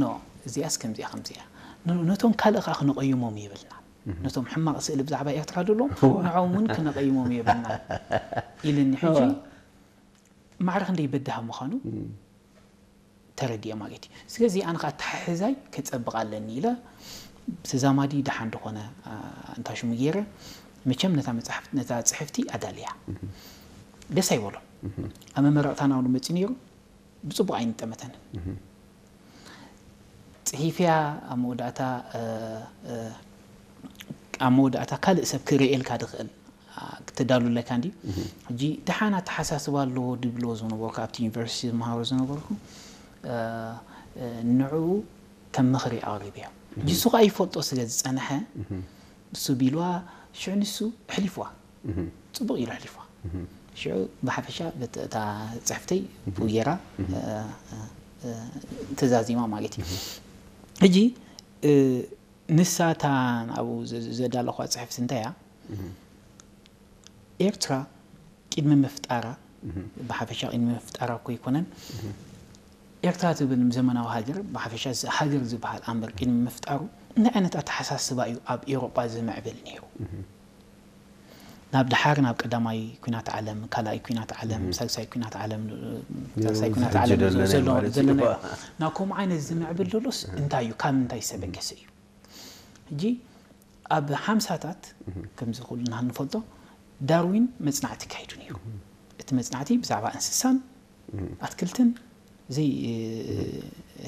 ኖ፣ እዚኣስ ከምዚኣ ከምዚኣ፣ ን- ነቶም ካልእ ከዓ ክነቐይሞም የብልናን። ነቶም ሕማቕ ስእሊ ብዛዕባ ኤርትራ ደሎ ንዖም እውን ክነቐይሞም የብልናን ኢልኒ። ሕጂ ማዕረ ክንደይ በዳህ ምዃኑ ተረዲኤ ማለት እዩ። ስለዚ ኣነ ከዓ ኣተሓሕዛይ ከጸብቕ ኣለኒ ኢለ ተዛማዲ ደሓን ዝኾነ እንታሽሙ ገይረ፣ መቸም ነታ መጽሓፍ ነታ ጽሕፍቲ ኣዳልያ ደስ ኣይበሎ። ኣብ መመረቕታና እውን መጺ ነይሩ። ብጽቡቕ ኣይንጠመተንን። ጽሒፍያ ኣብ መወዳእታ ኣብ መወዳእታ ካልእ ሰብ ክርእየልካ ድኽእል ክተዳሉለካ እንዲ። ሕጂ ደሓን ኣተሓሳስባ ኣለዎ ድብልዎ ዝነበርኩ ኣብቲ ዩኒቨርሲቲ ዝመሃሮ ዝነበርኩ ንዕኡ ከም ምኽሪ ኣቕሪብዮ። ሕጂ እሱ ከዓ ይፈልጦ ስለ ዝጸንሐ እሱ ቢልዋ ሽዑ ንሱ ኣሕሊፍዋ። ጽቡቕ ኢሉ ኣሕሊፍዋ። ሽዑ ብሓፈሻ እታ ጽሕፍተይ ብኡ ጌራ ተዛዚማ ማለት እዩ። ሕጂ ንሳ እታ ኣብኡ ዘዳለኳ ጽሕፍቲ እንታይ እያ? ኤርትራ ቅድሚ ምፍጣራ ብሓፈሻ ቅድሚ ምፍጣራ እኮ ኣይኮነን። ኤርትራ ትብል ዘመናዊ ሃገር ብሓፈሻ ሃገር ዝበሃል ኣምበር ቅድሚ ምፍጣሩ እንታይ ዓይነት ኣተሓሳስባ እዩ ኣብ ኤውሮጳ ዝምዕብል ነይሩ? ናብ ድሓር ናብ ቀዳማይ ኩናት ዓለም፣ ካልኣይ ኩናት ዓለም፣ ሳልሳይ ኩናት ዓለም፣ ሳልሳይ ኩናት ዓለም ዘለና ናብ ከምኡ ዓይነት ዝምዕብል ዘሎስ እንታይ እዩ? ካብ ምንታይ ዝተበገሰ እዩ? ሕጂ ኣብ ሓምሳታት ከምዚ ኩልና ንፈልጦ ዳርዊን መጽናዕቲ ካይዱ ነይሩ። እቲ መጽናዕቲ ብዛዕባ እንስሳን ኣትክልትን ዘይ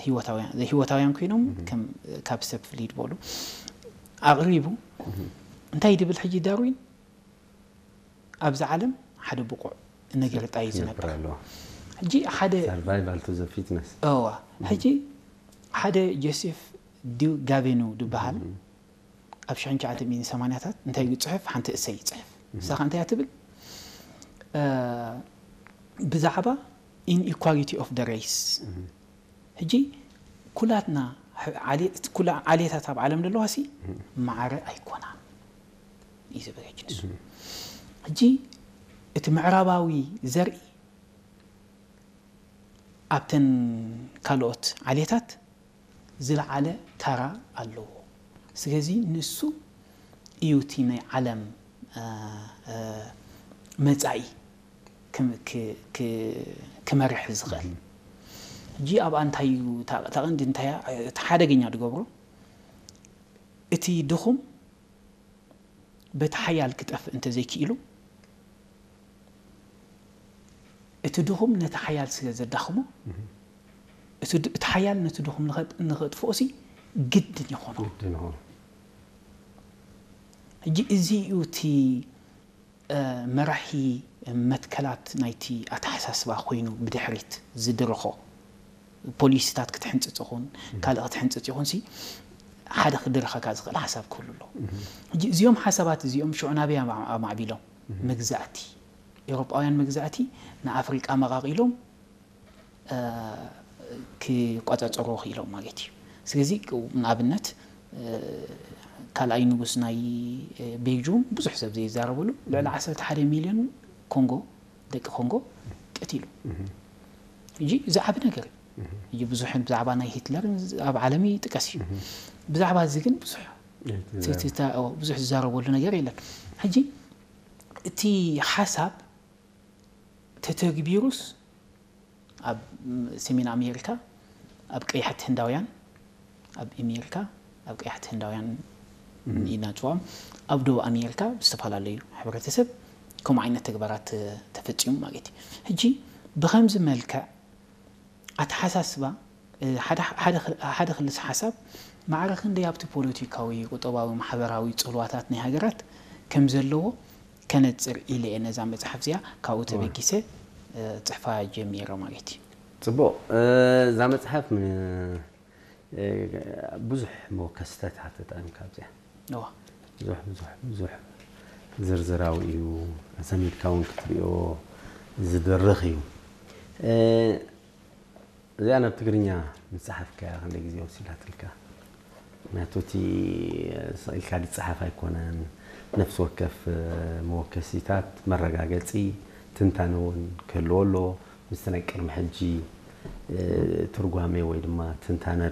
ህይወታውያን ዘይህይወታውያን ኮይኖም ከም ካብ ሰብ ፍልይ ዝበሉ ኣቕሪቡ። እንታይ ድብል ሕጂ ዳርዊን? ኣብዚ ዓለም ሓደ ብቑዕ ነገር ጣይ ዝነብር። ሕጂ ሓደ survival to the fittest። እዋ ሕጂ ሓደ ጆሴፍ ዲ ጋቬኑ ዝበሃል ኣብ ሽሕን ትሽዓተ ሚእትን ሰማንያታት እንታይ እዩ ዝፅሕፍ? ሓንቲ እሰይ ይፅሕፍ። ንሳ ከ እንታይ እያ ትብል? ብዛዕባ inequality of the race። ሕጂ ኩላትና ዓሌታት ኣብ ዓለም ዘለዋ ሲ ማዕረ ኣይኮናን እዩ ዝብል። ሕጂ ንሱ ሕጂ እቲ ምዕራባዊ ዘርኢ ኣብተን ካልኦት ዓሌታት ዝለዓለ ታራ ኣለዎ። ስለዚ ንሱ እዩ እቲ ናይ ዓለም መጻኢ ክመርሕ ዝኽእል። ሕጂ ኣብኣ እንታይ እዩ እታ ቀንዲ እንታይ እቲ ሓደገኛ ዝገብሮ እቲ ድኹም በቲ ሓያል ክጠፍእ እንተዘይክኢሉ እቲ ድኹም ነቲ ሓያል ስለ ዘዳኽሞ እቲ ሓያል ነቲ ድኹም ንኸጥፍኦ ሲ ግድን ይኾኖ። ሕጂ እዚ እዩ እቲ መራሒ መትከላት ናይቲ ኣተሓሳስባ ኮይኑ ብድሕሪት ዝድርኾ ፖሊሲታት ክትሕንፅፅ ይኹን ካልእ ክትሕንፅፅ ይኹን ሲ ሓደ ክድርኸካ ዝኽእል ሓሳብ ክህሉ ኣለዎ። ሕጂ እዚኦም ሓሳባት እዚኦም ሽዑ ናበይ ኣማዕቢሎም? መግዛእቲ ኤውሮጳውያን መግዛእቲ ንኣፍሪቃ መቓቒሎም ክቆጻጸሩ ክኢሎም ማለት እዩ። ስለዚ ንኣብነት ካልኣይ ንጉስ ናይ ቤልጁም ብዙሕ ሰብ ዘይዛረበሉ ልዕሊ ዓሰርተ ሓደ ሚልዮን ኮንጎ ደቂ ኮንጎ ቀቲሉ። ሕጂ እዚ ዓቢ ነገር እዩ። ሕጂ ብዙሕ ብዛዕባ ናይ ሂትለር ኣብ ዓለም ይጥቀስ እዩ። ብዛዕባ እዚ ግን ብዙሕ ትትታ ብዙሕ ዝዛረበሉ ነገር የለን። ሕጂ እቲ ሓሳብ ተተግቢሩስ ኣብ ሰሜን ኣሜሪካ ኣብ ቀያሕቲ ህንዳውያን ኣብ ኣሜሪካ ኣብ ቀያሕቲ ህንዳውያን ኢና ንፅውዖም ኣብ ደቡብ ኣሜሪካ ብዝተፈላለዩ ሕብረተሰብ ከምኡ ዓይነት ተግባራት ተፈፂሙ ማለት እዩ። ሕጂ ብከምዚ መልክዕ ኣተሓሳስባ ሓደ ክልስ ሓሳብ ማዕረ ክንደይ ኣብቲ ፖለቲካዊ፣ ቁጠባዊ፣ ማሕበራዊ ፅልዋታት ናይ ሃገራት ከም ዘለዎ ከነፅር ኢለ እየ ነዛ መፅሓፍ እዚኣ ካብኡ ተበጊሰ ፅሕፋ ጀሚረ ማለት እዩ። ፅቡቕ። እዛ መፅሓፍ ብዙሕ መወከስታት ሓተት ኣንካ ኣብዚኣ ብዙሕ ብዙሕ ብዙሕ ዝርዝራዊ እዩ። ኣሰሚድካ እውን ክትሪኦ ዝድርኽ እዩ። እዚኣ ናብ ትግርኛ ምስ ጸሓፍካያ ክንደይ ግዜ ወሲዳትልካ? ምክንያቱ እቲ ስቕ ኢልካ ዝጸሓፍ ኣይኮነን። ነፍሲ ወከፍ መወከሲታት መረጋገጺ ትንታነ እውን ክህልዎ ኣለዎ። ምስቲ ናይ ቅድሚ ሕጂ ትርጓሜ ወይ ድማ ትንታነ